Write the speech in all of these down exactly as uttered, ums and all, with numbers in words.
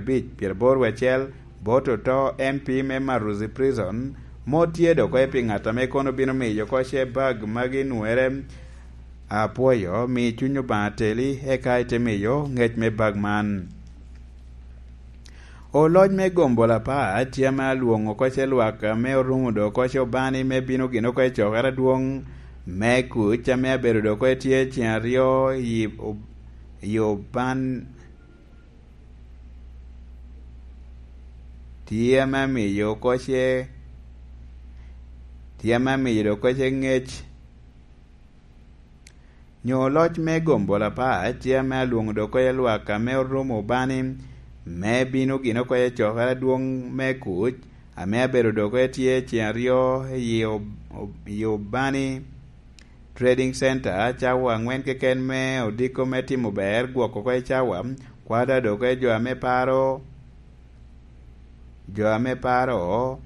abic, pyeraboro wiye acel, bot oto M P me Maruzi Prison, mot tye dok oye pi ŋat ame kono bino miyo oko ce bag magi nwere. Apwoyo, mi cuny Obaŋa teli, eka ite miyo ŋec me bag man. Oloc me gombo lapar tye ame alwoŋo oko ce lwak ame orumo dok oko ce obani me bino gin oko i cokere adwoŋ me kuc ame abedo dok oko tye ceŋ aryo i ob-, i oban tye ame amiyo oko ce, tye ame amiyo dok oko ce ŋec. Nyo loc me gombo lapar tye ame alwoŋo dok oko i lwak ame orumo obani, me bino gin oko i cokere adwoŋ me kuc, ame abedo dok oko tye ceŋ aryo i ob-, ob-, i obani Trading Center, cawa aŋwen keken me odiko me timo ber gwoko oko i cawa, kwada dok oko i jo ame paro jo ame paro,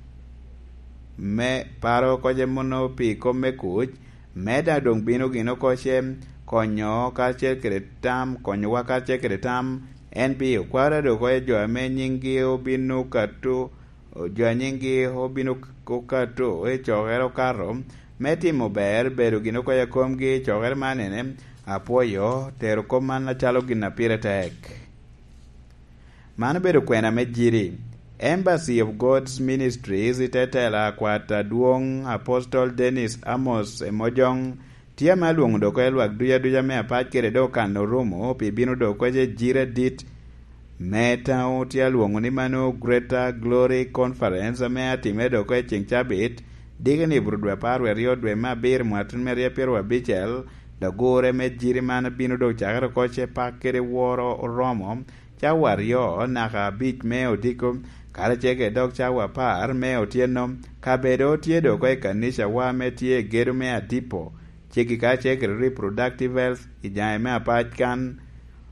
me paro oko ce mono pi kop me kuc, me daŋ doŋ bino gin oko ce konyo karacel kede tam, konyowa karacel kede tam, en pi okwara dok oko jo ame nyinggi obino kato, jo a nyinggi obino k-, okato i cokere okato, me timo ber, bedo gin oko i komgi i cokere man ene, apwoyo tero kop man acalo gin a pire tek. Man obedo kwena me Jiri. Embassy of God's Ministries i te tela akwat adwoŋ Apostol Dennis Amos Emojoŋ tye ame alwoŋo dok oko i lwak duc aduc ame apac kede dok kan orumo pi bino dok oko ce Jiri adit me taŋo tye alwoŋo ni mano Greater Glory Conference ame atimere dok oko i ceŋ cabit, dikeni i bur dwe apar wie aryo dwe me abiro mwatun me rye pyeraryo abicel, dok gure me Jiri man bino dok cakere oko ce pak kede woro oromo cawa aryo naka abic me odiko, karacel kede dok cawa apar me otyeno. Kabedo tye dok oko i kanicawa ame tye i gedo me Adipo, ceggi karacel kede Reproductive Health i jaŋe me apac kan.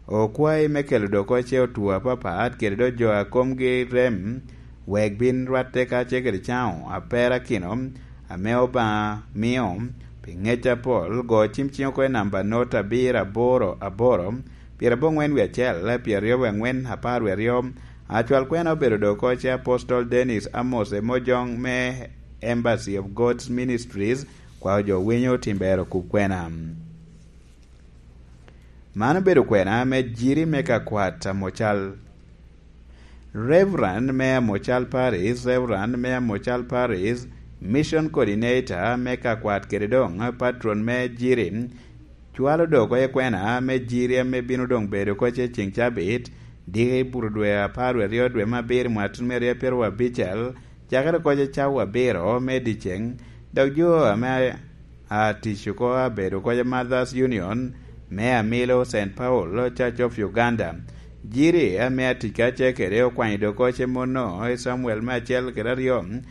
Okwayi me kelo dok oko ce otwo apapat kede dok jo a komgi rem, wek bin rwatte karacel kede caŋo aperakino ame Obaŋa mio pi ŋec apol. Go cim ciŋ oko i namba not abiro aboro aboro, pyeraboro aŋwen wie acel, pyeraryo wie aŋwen, apar wie aryo. Acwal kwena obedo dok oko ce Apostol Dennis Amos Emojoŋ me Embassy of God's Ministries, kwao jo winyo tim ber okub kwena. Man obedo kwena me Jiri me ka kwat Amocal. Reverend me Amocal Parish, Reverend me Amocal Parish, Mission Coordinator me ka kwat kede doŋ patron me Jiri, cwalo dok oko i kwena me Jiri ame bino doŋ bedo oko ce ceŋ cabit, diki i bur dwe apar wie aryo dwe me abiro mwatun me rye pyeraryo abicel, cakere oko ce cawa abiro me dyeceŋ, dok jo ame a tic oko abedo oko ce Mothers Union me Amilo Saint Paul Church of Uganda. Jiri ame atic karacel kede okwanyo dok oko ce mono i Camuel me acel kede aryo,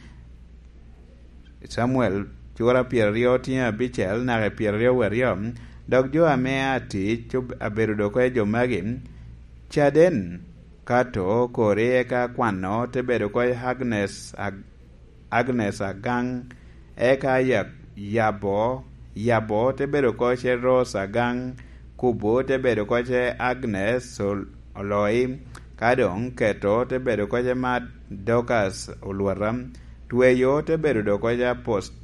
Camuel cura pyeraryo tyen abicel naka i pyeraryo wie aryo, dok jo ame atic ob-, abedo dok oko i jo magi, caden kato kori eka kwano te bedo oko i Agnes Ag-, Agnes Agaŋ, eka ya-, yabo, yabo te bedo oko ce Rose Agaŋ, kubo te bedo oko ce Agnes Ol-, Oloi, ka doŋ keto te bedo oko ce Mad Dorcas Olwata, tweyo te bedo dok oko ce Apost-,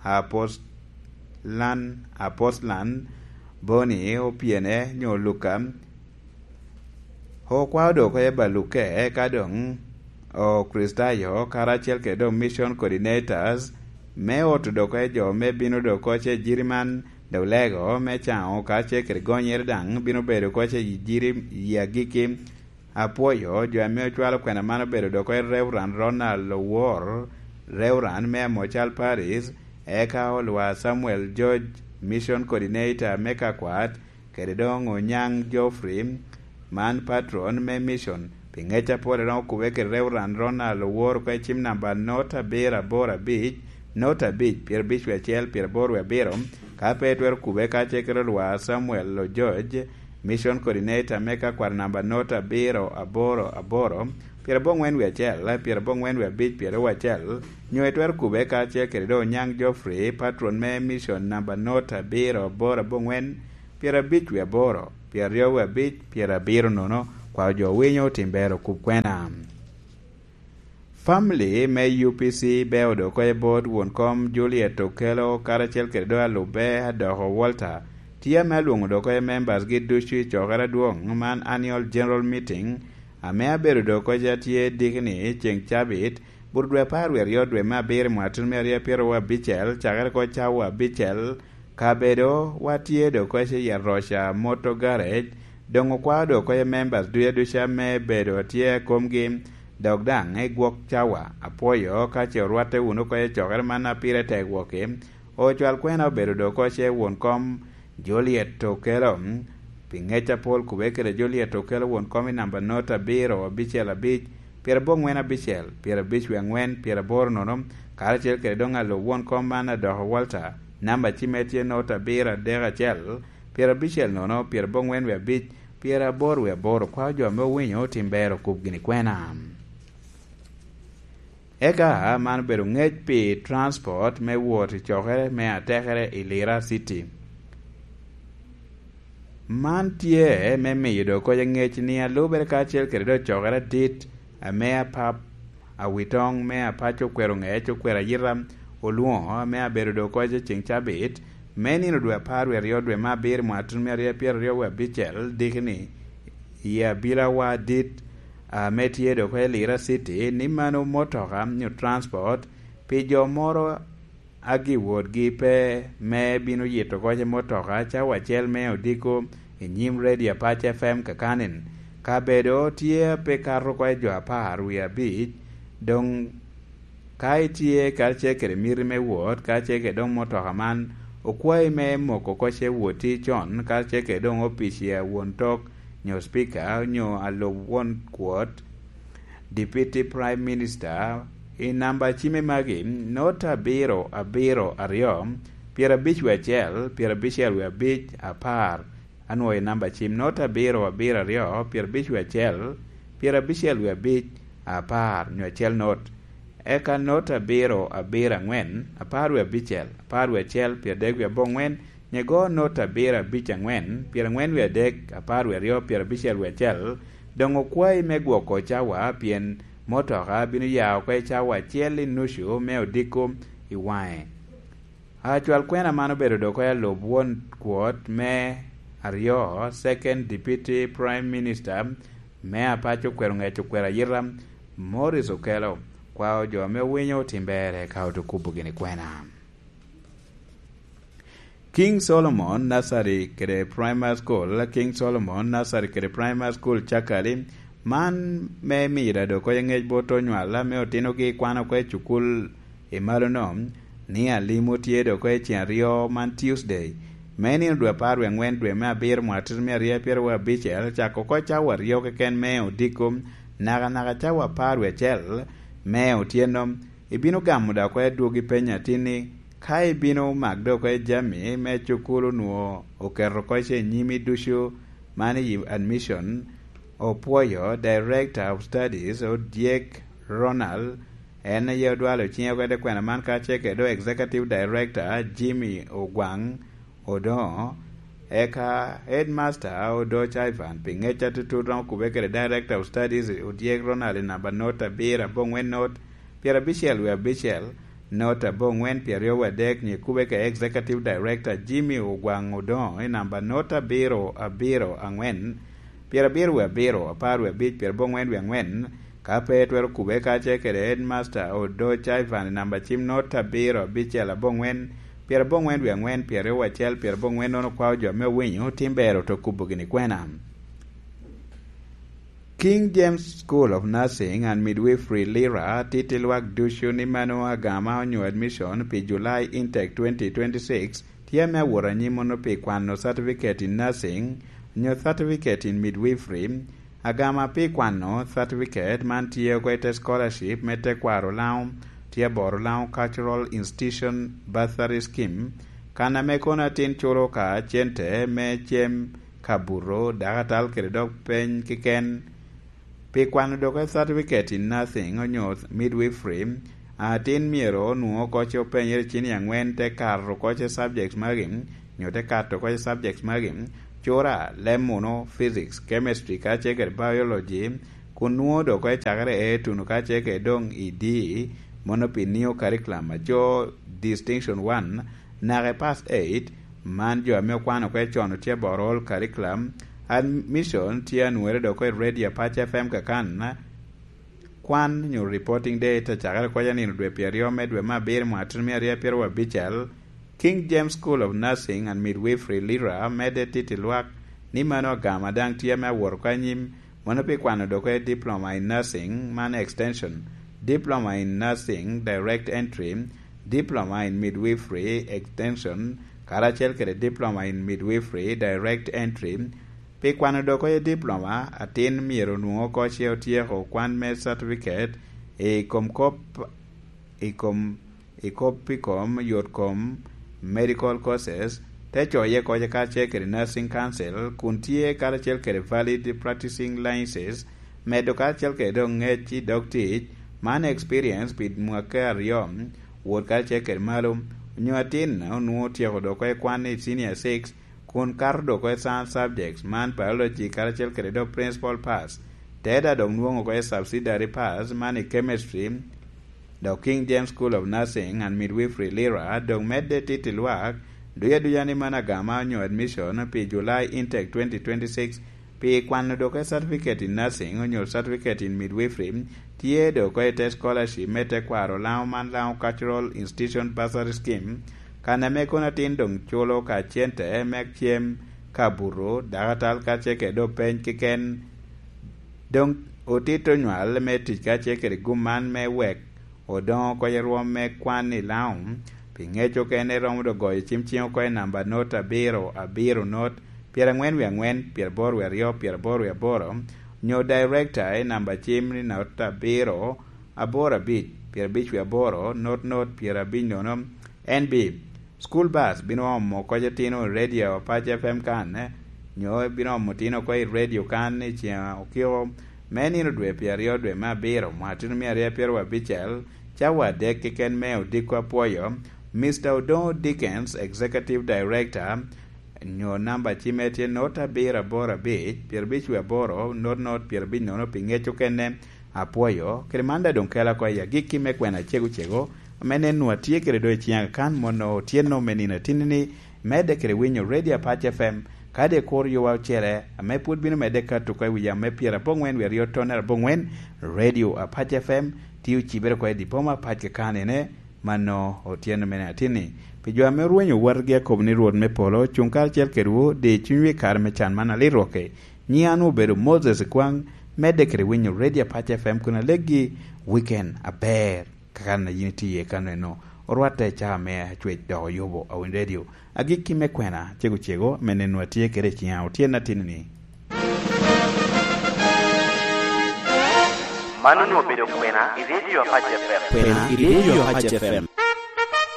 Apostlan, Apostlan, Boni, Opyene, nyo Luka, Okwao dok oko i baluke, eka doŋ Okricitayo karacel kede doŋ mission coordinators me oto dok oko i jo me bino dok oko ce Jiri man, dok lego me caŋo karacel kede gonyere daŋ bino bedo oko ce Jiri i agikki. Apwoyo jo ame ocwalo kwena man obedo dok oko i Reverend Ronald Owor, Reverend me Amocal Parish, eka Olwa Samuel George, mission coordinator me kakwat, kede doŋ Onyaŋ Geoffrey, man patron me mission. Pi ŋec apol, doŋ okube kede Reverend Ronald Owor oko i cim namba not abiro aboro abic, not abic, pyerabic wie acel, pyeraboro wie abiro. Ka pe itwero kube kacel kede Olwa Samuel Ojoc, mission coordinator me kakwat namba not abiro aboro aboro, pyeraboro aŋwen wie acel, pyeraboro aŋwen wie abic, pyeraryo acel, nyo itwero kube kacel kede doŋ Onyaŋ Geoffrey, patron me mission namba not abiro aboro aboro aŋwen, pyerabic wie aboro, pyeraryo wie abic, pyerabiro nono. Kwao jo winyo tim ber okub kwena. Famili me U P C beo dok oko i bot won kom Juliet Okello karacel kede dok alubbe Adoko Walter tye ame alwoŋo dok oko i members gi ducu i cokere adwoŋ man Annual General Meeting ame abedo dok oko atye dikni ceŋ cabit bur dwe apar wie aryo dwe me abiro mwatun me aryo pyero abicel cakere oko cawa abicel. Kabedo watye dok oko i Aroca Motor Garage, doŋ okwao dok oko i members duya duca me bedo atye komgi, dok daŋ i gwok cawa. Apwoyo ka ce orwatte wunu oko i cokere man a pire tek wokki. Ocwal kwena obedo dok oko ce won kom Juliet Okello. Pi ŋec apol kubbe kede Juliet Okello won kom i namba not abiro abicel abic, pyerabongwen abicel, pyerabic wie angwen, pyeraboro nono, karacel kede doŋ alub won kom man Adoko Walter, namba cimme tye not abiro adek acel, pyerabicel nono, pyerabongwen wie abic, pyeraboro wie aboro. Kwao jo ame owinyo otim ber okub gini kwena. Eka man obedo ŋec pi transport me wot i cokere me atekere i Lira City. Man tye me miyo dok koc ŋec ni alubere kacel kede dok cokere adit ame apap awitoŋ me apaco okwero ŋec okwero ayita olwoŋo ame abedo dok koc i ceŋ cabit me nino dwe apar wie aryo dwe me abiro mwatun me aryo pyero aryo wie abicel dikni i abilawa adit ame tye dok i Lira City ni mano motoka nyo transport pi jo moro agi wotgi pe me bino yito koc i motoka cawa acel me odiko i nyim Radio Apac F M kakanin. Kabedo tye pe kato oko i jo apar wie abic, doŋ ka itye karacel kede miti me wot karacel kede doŋ motoka man, okwayi me moko koc i wotti con karacel kede doŋ opic i awon tok nyo Speaker nyo alub won kwot, Deputy Prime Minister, i namba cime magi, nota abiro abiro aryo, pyerabic wie acel, pyerabicel wie abic, apar. Anwoyo i namba cim nota abiro abiro aryo, pyerabic wie acel, pyerabicel wie abic, apar, nyo acel not. Eka nota abiro abiro angwen, apar wie abicel, apar wie acel, pyeradek wie abongwen, Nyego not abiro abic angwen, pyerangwen wie adek, apar wie aryo, pyerabicel wie acel, doŋ okwayi me gwoko cawa pien motoka bino ya oko i cawa acel i nucu me odiko i waŋe. Acwal kwena man obedo dok i alub won kwot me aryo, Second Deputy Prime Minister, me apaco okwero ŋec okwero ayita, Morris Okello, kwao jo ame owinyo otim ber eka otukubo gini kwena. King Solomon Nursery kede Primary School, King Solomon Nursery kede Primary School Cakali, man me miyo dado oko i ŋec bot onywal ame otinogi kwano oko i cukul i malono, ni alimo tye dok oko i ceng aryo man Tuesday, me nino dwe apar wie angwen dwe me abiro mwaka tutu mia aryo pyeraryo abicel, cako oko cawa aryo keken me odiko, nakanaka cawa apar wie acel me otyeno. Ibino gamo dok oko adwogi penyo atin ni, ka ibino mak dok oko jami me cukul onwoŋo oketo oko i nyimi ducu, man i admission, opwoyo Director of Studies, Odyek Ronald, en aye odwalo ciŋe oko i te kwena man, kacel kede Executive Director, Jimmy Ogwang Odoŋo, eka Headmaster Odoc Ivan, pi ŋec atutut, romo kubbe kede Director of Studies, Odyek Ronald, i namba not abiro aboŋwen not, pyerabicel wie abicel, not aboŋwen pyeraryo wie adek, nyo kubbe kede Executive Director Jimmy Ogwang Odoŋo, i namba not abiro abiro aŋwen, pyerabiro wie abiro, apar wie abic, pyeraboŋwen wie aŋwen, ka pe twero kubbe kacel kede Headmaster Odoc Ivan i namba cim not abiro abicel aboŋwen, pyeraboŋwen wie aŋwen, pyeraryo wie acel, pyeraboŋwen nono kwao jo ame owinyo, tim ber oto kubo gini kwena. King James School of Nursing and Midwifery Lira titi lwak ducu ni mano agama onyo admission pi July Intake twenty twenty-six tye ame awot anyim mono pi kwano Certificate in Nursing nyo Certificate in Midwifery. Agama pi kwano Certificate man tye oko i te scholarship me tekwaro Lango, tye aboro Lango Cultural Institution Bursary Scheme, kan ame kono atin culo ka cente me cem ka buto, dakatal kede dok peny keken. Pi kwano doke Certificate in Nursing onyo Midwifery, atin myero onwoŋ oko ce openyere cini angwen te kato oko ce subjects magi, nyo te kato oko ce subjects magi, cura, leb munu, physics, chemistry, kacel kede biology, kun nwoŋo dok oko i cakere A tuno kacel kede doŋ i D, mono pi neo curriculum a jo distinction one, naka i pass eight, man jo ame okwano oko i con otye aboro all curriculum, admission tye anwere dok oko i Radio Apac F M kakan, kwan nyo reporting day te cakere oko i nino dwe pyeraryo me dwe me abiro mwaka tutumia aryo apyer wabicel, King James School of Nursing and Midwifery Lira medde titi lwak ni mano agama daŋ tye ame awot oko anyim, mono pi kwano dok oko i Diploma in Nursing, man extension, Diploma in Nursing Direct Entry, Diploma in Midwifery Extension, karacel kede Diploma in Midwifery Direct Entry. Pi kwano dok oko i Diploma, atin myero onwoŋo oko ce otyeko kwan me certificate i kom kop i kom i kop i kom yot kom medical courses, te coye oko kacel kede nursing council kun tye karacel kede valid practicing licenses, medo karacel kede doŋ ŋec i dog tic, man experience pi mwaka aryo, wot karacel kede malo, onyo atin onwoŋo otyeko dok oko i kwan i senior six, kun kato dok oko i science subjects, man biology karacel kede dok principal pass, te da dok nwoŋo oko i subsidiary pass, man i chemistry, dok King James School of Nursing and Midwifery Lira, dok medde titi lwak, duca duca ni man agama onyo admission pi July intake twenty twenty-six, pi kwano dok oko i certificate in nursing onyo certificate in midwifery, tye dok oko i te scholarship me tekwaro Laŋo man Laŋo Cultural Institution Bursary Scheme, kan ame kono atin doŋ culo ka cente me cem, ka buto, dakatal kacel kede dok peny keken. Doŋ otito nywal me tic kacel kede gum man me wek odoŋo oko i rwom me kwan i Laŋo, pi ŋec okene romo dok goyo cim ciŋ oko i namba not abiro abiro not pyerangwen wie angwen, pyeraboro wie aryo, pyeraboro wie aboro, nyo director i namba cim ni not abiro aboro abic, pyerabic wie aboro, not not, pyerabic nono. N B, school bus bino omo oko itino i Radio Apac F M kan, nyo bino omo itino oko i radio kan i ceng okiko me nino dwe pyeraryo dwe me abiro mwaka tutumia aryo apyer wabicel, cawa adek keken me odiko apwoyo, Mister Odoŋo Dickens, Executive Director, nyo namba cimme tye not abiro aboro abic, pyerabic wie aboro, not not, pyerabic nono pi ŋec okene. Apwoyo, kede man daŋ doŋ kela oko i agikki me kwena cego cego, ame nen nwa tye kede doŋ i ciŋa kan mono otyeno me nino atinni ni, medde kede winyo Radio Apac F M, kadi kur yowa ocele, ame pwod bino medde kato oko i wi yam me pyerabongwen wie aryo tonere abongwen, Radio Apac F M, tye ocibere oko i di boma Apac kakanene, mano otyeno mene atinni. Pi jo ame orwenyo watgi akobo ni Rwot me polo cuŋ karacel kedwu, di cunywu i kare me can man alit rwoke. Nyiŋ an obedo Moses Kwaŋ, medde kede winyo Radio Apac F M kun aleggi weekend aber, kakan a yin itye iye kano eno. Orwatte i caa me acwec dok oyubo awiny radio. Agikki me kwena cego cego, ame nen nwa tye kede i ciŋa otyeno atinni. Man onwoŋo obedo kwena i Radio Apac F M. Kwena i Radio Apac F M.